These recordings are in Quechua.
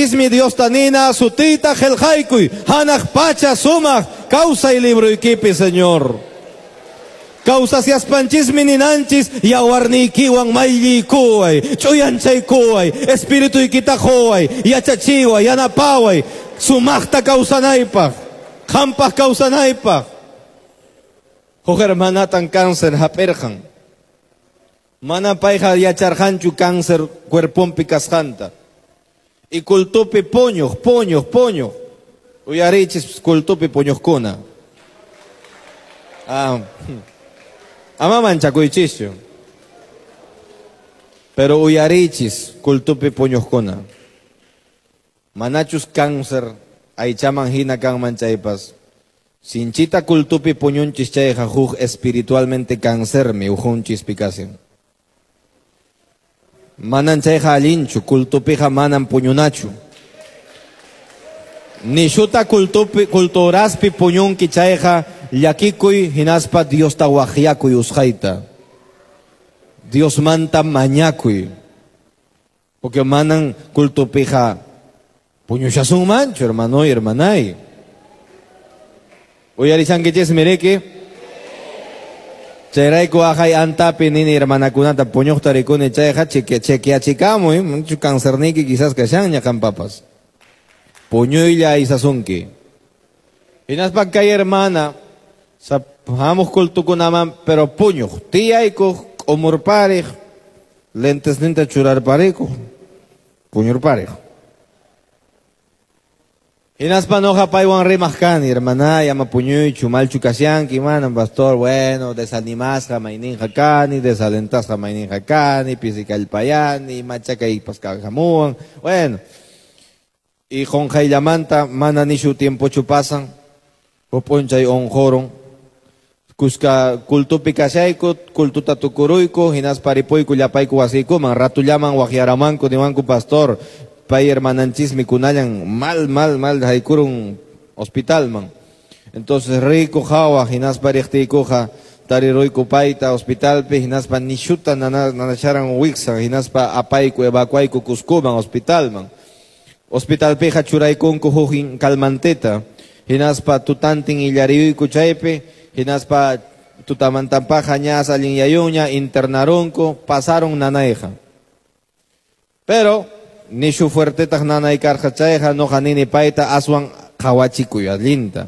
Ismi Diosta nina sutiyta qillqaykuy hanaq pacha sumaq kawsay libroykipi, Señor. Kawsasiyaspanchismi ninanchis yawarniykiwan maylliykuway, ch'uyanchaykuway, espirituykita quway, yachachiway, yanapaway, sumaqta kawsanaypaq, qampaq kawsanaypaq. Huk hermanatan cáncer hap'irqan. Mana payqa yacharqanchu cáncer cuerponpi kasqanta. Y cultupi puñuq, puñuq, puñuq. Uyarichis, cultupi puñuqkuna. Ah, ama manchakuychischu. Pero uyarichis, cultupi puñuqkuna. Manachus cáncer aychaman hina kanman chaypas. Sinchita cultupi puñunchis chayqa huk espiritualmente cancermi ukhunchispí kashan. Manan chayqa allinchu, cultupiqa manan puñunachu. Nishuta cultupi culturaspi puñunki chayqa llakikuy hinaspa Diosta waqyakuy usqhayta. Diosmanta mañakuy. Porque manan cultupiqa puñushasunmanchu, hermano y hermanay. Uyarishankichismi riki. Chayrayku aqhay antapi nini hermanakunata puñuqta rikuni chayqa chequeachikamuy, mucho cancerniyki quizás kashanña qampapas. Puñuylla aysasunki. Hinaspa kay hermana hamuq cultukunaman pero puñuq, tiyaykuq, k'umurpariq, lentesninta churarparikuq, puñurpariq. Hinaspa noqa paywan rimaq kani, hermanay, ama puñuychu, malchu kashanki, manam, pastor, bueno, desanimasqa mayninqa kani, desalentasqa mayninqa kani, pisi kallpayani, machakaypas hamuwan, bueno. Y qunqayllamanta mana nishu tiempochu pasan, huk p'unchay unqurun. Kuska cultupi kashayku, cultuta tukuruyku, hinaspa ripuyku llapayku wasiykuman, ratullaman waqyaramanku niwanku, "Pastor, pay hermananchismi kunallan mal, mal, mal haykurun hospitalman." Entonces riyku qhawaq, hinaspa riqtiykuqa tariruyku payta hospitalpi, hinaspa nishuta nanasharan wiksan, hinaspa apayku, evacuayku Cuscoman hospitalman. Hospitalpiqa churaykunku huk calmanteta, hinaspa tutantin illariyuyku chaypi, hinaspa tutamantapaqa ñas allinyayunña, internarunku, pasaron nanayqa. Pero nishu fuertetaq nanay karqa chayqa noqa nini payta aswan qhawachikuy allinta.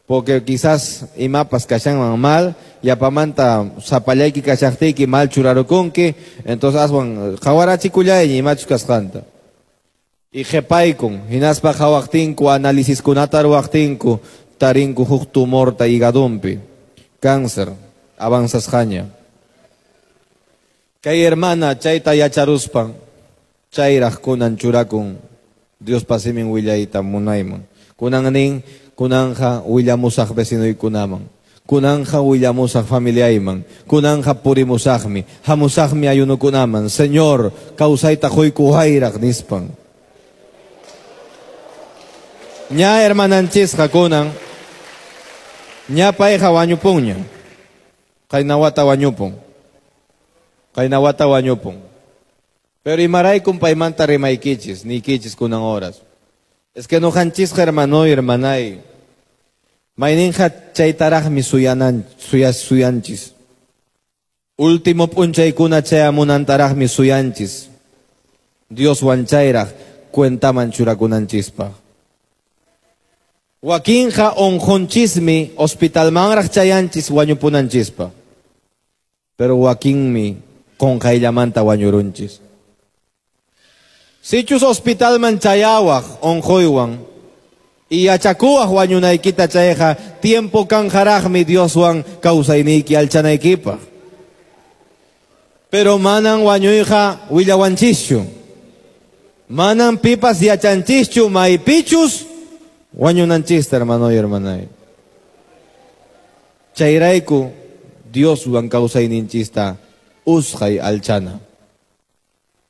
Porque quizás imapas kashanman mal, yapamanta sapallayki kashaqtiyki mal churarukunki, entonces aswan qhawarachikullay imachus kasqanta. Y qhipaykun, hinaspa qhawaqtinku, análisiskunata ruwaqtinku, tarinku huk tumorta higadonpi, cáncer, avanzasqaña. Kay hermana chayta yacharuspan, chayraq kunan churakun Diospa simin willayta munayman. Kunan nin, kunanja willamusaq vecinoykunaman. Kunanja willamusaq familiayman. Kunanja purimusaqmi. Hamusaqmi ayunukunaman. "Señor, kawsayta quykuwayraq" nispan. Ña hermananchisqa kunan ña payqa wañupunña. Qayna wata wañupun. Qayna wata wañupun. Pero imaraykum paymanta rimaykichis, niykichis kunan horas? Es que noqanchisqa, hermano y hermanay, mayninqa chaytaraqmi suyanan, suyanchis. Último p'unchaykuna chayamunantaraqmi suyanchis. Dioswan chayraq cuentaman churakunanchispaq. Wakinqa unqunchismi hospitalmanraq chayanchis wañupunanchispaq. Pero wakinmi qunqayllamanta wañurunchis. Sichus hospitalman chayawaq unquywan y yachakuwaq wañunaykita chayqa tiempo kanqaraqmi Dioswan kawsayniyki alchanaykipaq. Pero manan wañuyqa willawanchischu. Manan pipas yachanchischu maypichus wañunanchista, hermano y hermanay. Chayrayku Dioswan kawsayninchista usqhay alchana.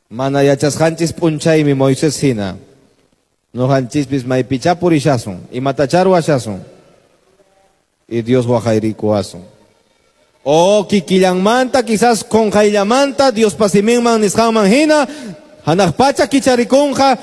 Mana yachasqanchis p'unchaymi Moisés hina. Noqanchispis maypichá purishasun, imatachá ruwashasun. Y Dios waqayrikuwasun. O kikillanmanta, quizás qunqayllamanta, Diospa siminman nisqanman hina, hanaq pacha kicharikunqa.